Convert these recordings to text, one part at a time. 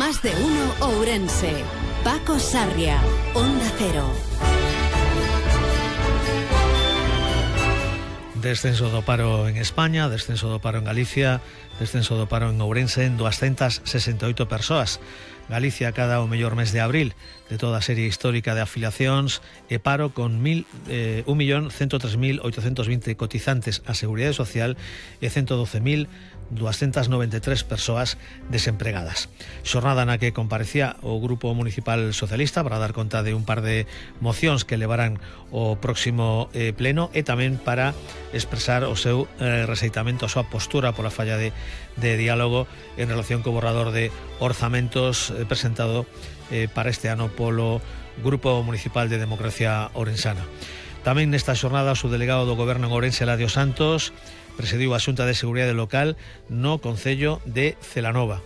Más de uno Ourense. Paco Sarria, Onda Cero. Descenso do paro en España, descenso do paro en Galicia, descenso do paro en Ourense en 268 persoas. Galicia cada o mellor mes de abril de toda a serie histórica de afiliacións e paro con 1.103.820 cotizantes á Seguridade Social e 112.293 persoas desempregadas. Xornada na que comparecía o Grupo Municipal Socialista para dar conta de un par de mocións que levarán o próximo pleno e tamén para expresar o seu rexeitamento, a súa postura pola falla de diálogo en relación co borrador de orzamentos presentado para este ano polo Grupo Municipal de Democracia Ourensana. Tamén nesta xornada o subdelegado do Goberno en Ourense, Eladio Santos, presidiu a Xunta de Seguridade Local no Concello de Celanova.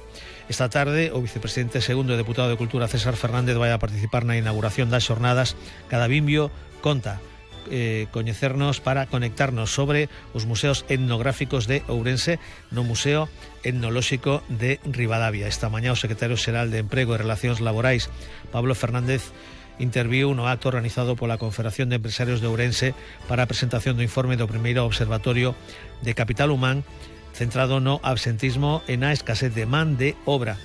Esta tarde, o vicepresidente segundo e deputado de Cultura, César Fernández, vai a participar na inauguración das xornadas Cada Bimbio Conta, coñecernos para conectarnos sobre os museos etnográficos de Ourense no Museo Etnolóxico de Ribadavia. Esta mañá o secretario xeral de Emprego e Relacións Laborais, Pablo Fernández, interviu no acto organizado pola Confederación de Empresarios de Ourense para a presentación do informe do primeiro observatorio de capital humán centrado no absentismo e na escasez de man de obra.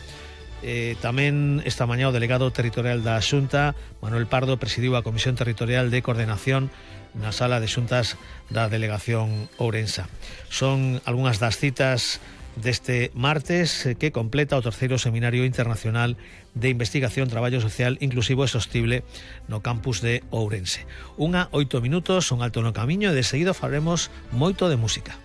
Tamén esta mañá o delegado territorial da Xunta, Manuel Pardo, presidiu a Comisión Territorial de Coordinación na sala de xuntas da Delegación Ourensa. Son algunhas das citas deste martes que completa o terceiro Seminario Internacional de Investigación, Traballo Social Inclusivo e Sostible no campus de Ourense. 1:08, un alto no camiño e de seguido falaremos moito de música.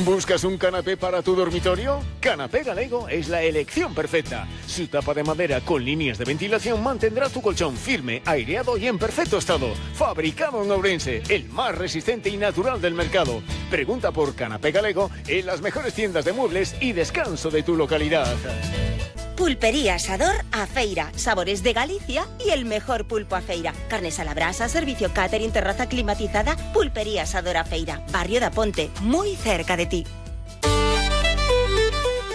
¿Buscas un canapé para tu dormitorio? Canapé Galego es la elección perfecta. Su tapa de madera con líneas de ventilación mantendrá tu colchón firme, aireado y en perfecto estado. Fabricado en Ourense, el más resistente y natural del mercado. Pregunta por Canapé Galego en las mejores tiendas de muebles y descanso de tu localidad. Pulpería Asador A Feira, sabores de Galicia y el mejor pulpo a feira. Carnes a la brasa, servicio catering, terraza climatizada. Pulpería Asador A Feira, Barrio da Ponte, muy cerca de ti.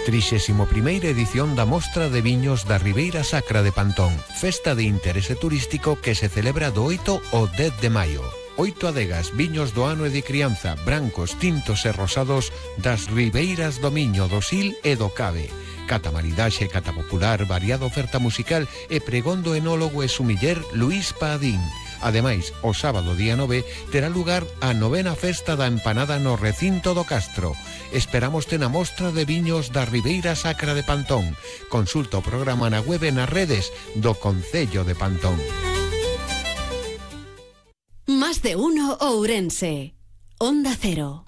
31ª edición da Mostra de Viños da Ribeira Sacra de Pantón, festa de interese turístico que se celebra do 8 ao 10 de maio. 8 adegas, viños do ano e de crianza, brancos, tintos e rosados das ribeiras do Miño, do Sil e do Cabe. Cata maridaxe, cata popular, variada oferta musical e pregón do enólogo e sumiller Luís Padín. Ademais, o sábado día 9 terá lugar a 9ª festa da empanada no recinto do Castro. Esperamos na Mostra de Viños da Ribeira Sacra de Pantón. Consulta o programa na web e nas redes do Concello de Pantón. Más de uno Ourense. Onda Cero.